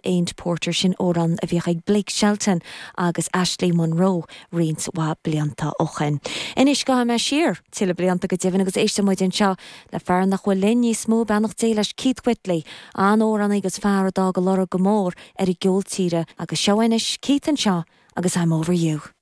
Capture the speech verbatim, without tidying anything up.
Ain't Porter sin amhrán a bhíodh ag Blake Shelton agus Ashley Monroe roinnt mhaith blianta ó shin. Anois gabhfaidh mé siar tuilleadh blianta go deimhin agus éistfidh muid anseo le fear nach bhfuil linn níos mó beannacht Dé leis Keith Whitley, an amhránaí agus fear a d'fhág lorg go mór ar an gceol tíre agus seo anois Keith anseo agus I'm over you.